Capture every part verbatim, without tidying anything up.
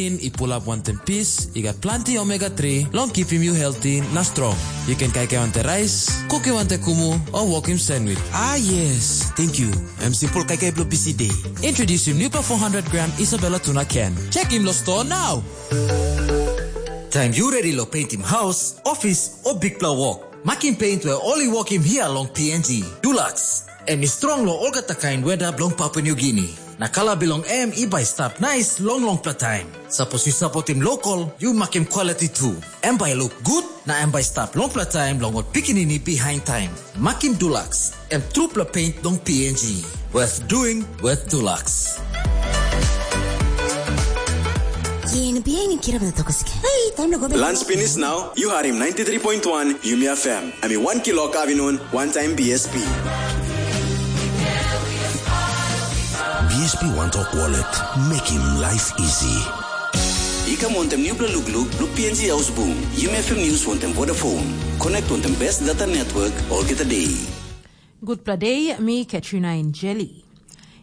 Protein i pulap wantaim pis, i gat planti omega three long kipim yu healthy na strong. Yu ken kaikai wantaim rais, kukim wantaim kumu, o wokim sandwich. Ah yes, thank you. Em simple kaikai bilong busy day. Introducing new four hundred gram Isabella tuna can. Check him lo store now. Taim yu redi long paintim haus, ofis, o bikpela wok, makim paint we ol i wokim hia long P N G. Dulux, em i strong long olgeta kain weda bilong Papua New Guinea. Na kala bilong em i bai stap nais long longpela taim. Sapos yu sapotim lokal, yu makim quality tu. Em bai luk gut, na em bai stap longpela taim long ol pikinini bihain taim. Makim Dulux, em trupela paint long P N G. Worth doing, worth Dulux. Yen bihain kirap na tokoske. Hei, taim na go. Lunch finish now, you harim ninety-three point one Yumi F M. Ami one kilo kavinun, one time B S P. B S P One Talk Wallet, making life easy. I kam wantem nupela lukluk bilong P N G Ausbung, Yumi F M News wantem Vodafone. Connect wantem best data network olgeta day. Gutpela day, mi Katrina Injeli.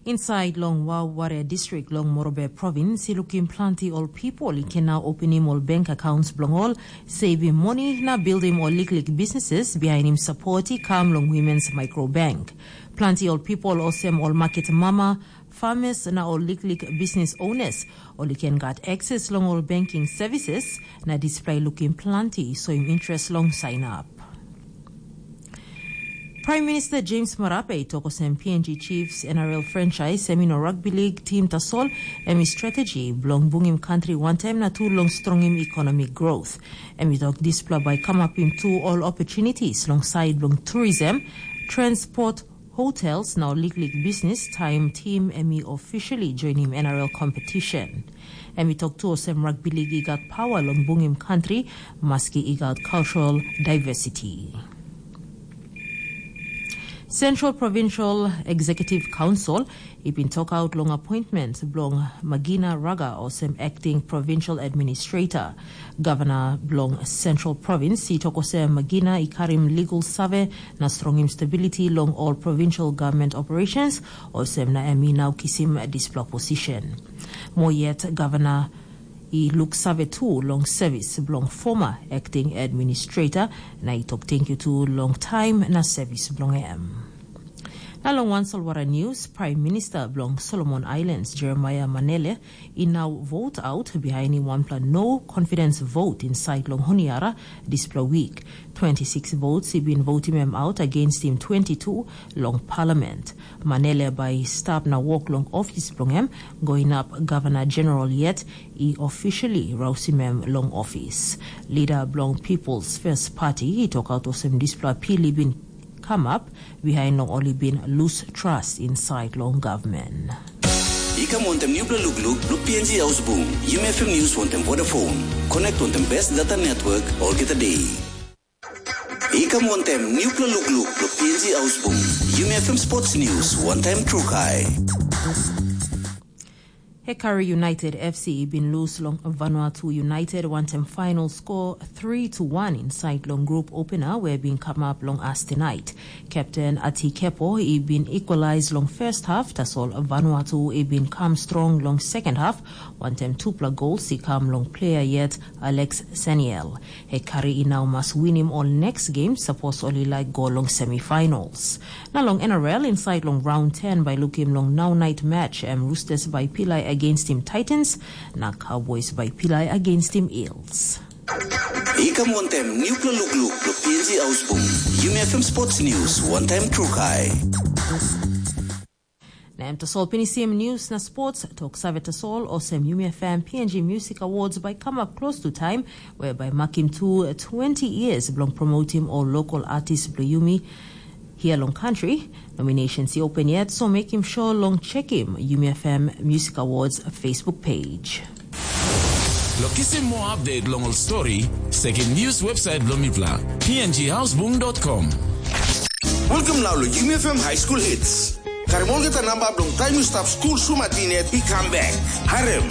Inside long Waware District long Morobe Province, i lukim planti ol people i ken na openim ol bank accounts bilong ol, saving money na building ol liklik businesses bihainim support i kam long Women's Micro Bank. Planti ol people olsem ol market mama, farmers na ol liklik business owners, ol i ken gat access long ol banking services, na dispela i lukim planti i soim interest long sign up. Prime Minister James Marape i tok olsem P N G Chiefs N R L franchise em i no rugby league team tasol, em i strategy bilong bungim country wantaim na tu long strongim economic growth. Em i tok dispela bai kamapim tu ol opportunities long side bilong tourism, transport, hotels na ol liklik business taim team em i officially joinim N R L competition. Em i tok tu olsem rugby league i gat power long bungim country, maski i gat cultural diversity. Central Provincial Executive Council i bin tokaut long appointment bilong Magina Raga olsem acting provincial administrator. Gavana bilong Central Province i tok olsem Magina i karim legal save na strongim stability long ol provincial government operations, olsem na em i nau kisim dispela position. Mo yet, gavana i luksave tu long sevis bilong former acting administrator, na i tok tenkyu tu long taim na sevis bilong em. Na long wan solwara news, Prime Minister bilong Solomon Islands, Jeremiah Manele, i nau vote out bihainim wanpela no confidence vote inside long Honiara dispela week. Twenty-six votes i bin votim em out against him twenty-two long parliament. Manele bai stap na wok long ofis bilong em, go inap gavana general yet i officially rausim em long ofis. Lida bilong People's First Party i tokaut olsem dispela pil i bin kamap bihain long ol i bin lus trust inside long gavman. I kam wantem nupela lukluk bilong P N G Ausbung, Yumi F M News wantem Vodafone. Connect wantem best data network olgeta day. I kam wantem nupela lukluk bilong P N G Ausbung, Yumi F M Sports News wantem Trukai. Hekari United F C i bin lus long Vanuatu United wantem final score three to one inside long group opener we bin kamap long as tonight. Captain Ati Kepo i bin equalize long first half, tasol Vanuatu i bin kam strong long second half, wantem tupela gols i kam long player yet Alex Seniel. Hekari i nau mas winim ol next game sapos ol i laik go long semifinals. Na long N R L inside long round ten bai lukim long nau night match em Roosters bai pilai against him Titans, na Cowboys bai pilai against him Eels. I kam wantem nupela lukluk bilong P N G Ausbung, Yumi F M Sports News wantem Trukai. Na em tasol pinisim news na sports, tok save tasol, olsem Yumi F M P N G Music Awards bai kamap klostu taim, whereby makim tu twenty years bilong promotim ol local artist bilong Yumi hia long country. Nominations i open yet, so mekim sure long chekim Yumi F M Music Awards Facebook page. Lo kisim moa update long ol story, sekim news website bilong mipela, P N G Houseboom dot com. Welcome now lo Yumi F M High School Hits. Karim olgeta namba bilong taim yu stap skul sumatin yet i kam bek. Harem,